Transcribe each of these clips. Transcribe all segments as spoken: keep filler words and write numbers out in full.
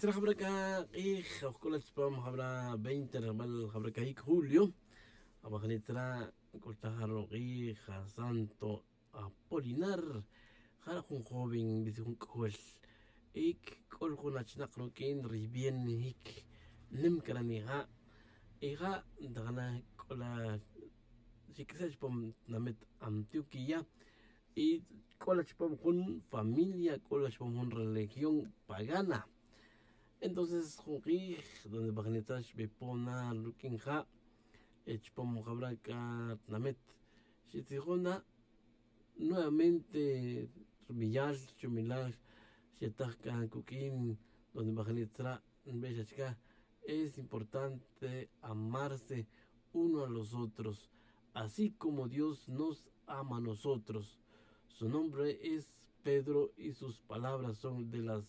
Tra jabra c'a k'ij ojc'ola chupam jabra veinte rejbal jabra cahic julio. Abajni tra c'ultaj aro' k'ij asanto apolinar. Jara' jun joven bisi jun c'ojol y c'ol jun achinak ruq'uin ri bien jic nim c'a ra' nija'. Y ja' ntajana c'ola xic'ise' chupam tinamit antioquía. Y c'ola chupam jun familia c'ola chupam jun religión pagana. Entonces jun k'ij donde bajni tra xbipon na ruq'uin ja' chupam jabra c'a tinamit xitzijon na nuevamente rubiyal chumilal xetaj c'a cuq'uin donde bajni tra nbe xa chica. Es importante amarse uno a los otros así como dios nos ama a nosotros. Su nombre es pedro y sus palabras son de las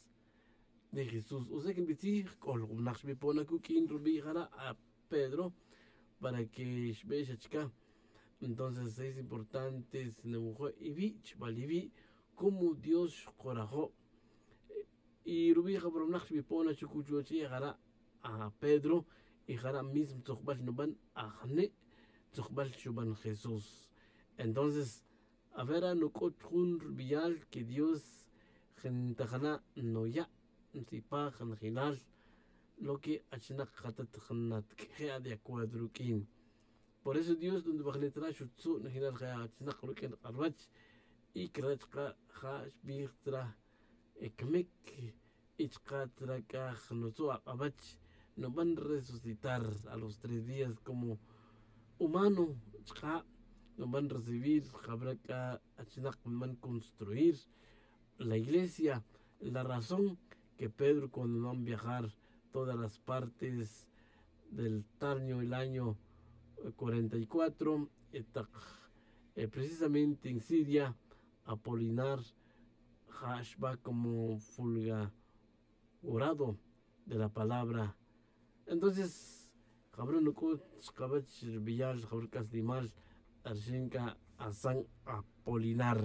de jesús o sea que nbitzij c'o jun winak xbipon na cuq'uin rubi' jara' a pedro para que xbe xa chica. Entonces es importante si nawujo' iwi' chibal iwi' como dios xkorajo'. Y rubi' jabra winak xbipon na chucu chuwech ri' jara' a pedro y jara' mismo tzujbal nuban ajni' tzujbal xuban jesús. Entonces avera nuc'ut jun rubiyal que dios ntajana' nuya' ntzipaj njelal lo que achinak jatat jnatq'ueje' a de acuerdo ruq'uin. Por eso dios donde bajni tra xutzu' njelal je achinak ruq'uin ri k'alwach y cre' chka' ja' xbij tra cmic y chka' tra c'a jnutzu' ak'awach nuban resucitar a los tres días como humano. Chka' nuban recibir jabra c'a achinak nuban construir la iglesia. La razón que pedro cuando nuban viajar todas las partes del talño el año cuarenta y cuatro tak precisamente en siria apolinar ja' xba como fulgurado de la palabra. Entonces jabra nuc'ut chkawech rubiyal jabra c'aslimal arxin c'a asan apolinar.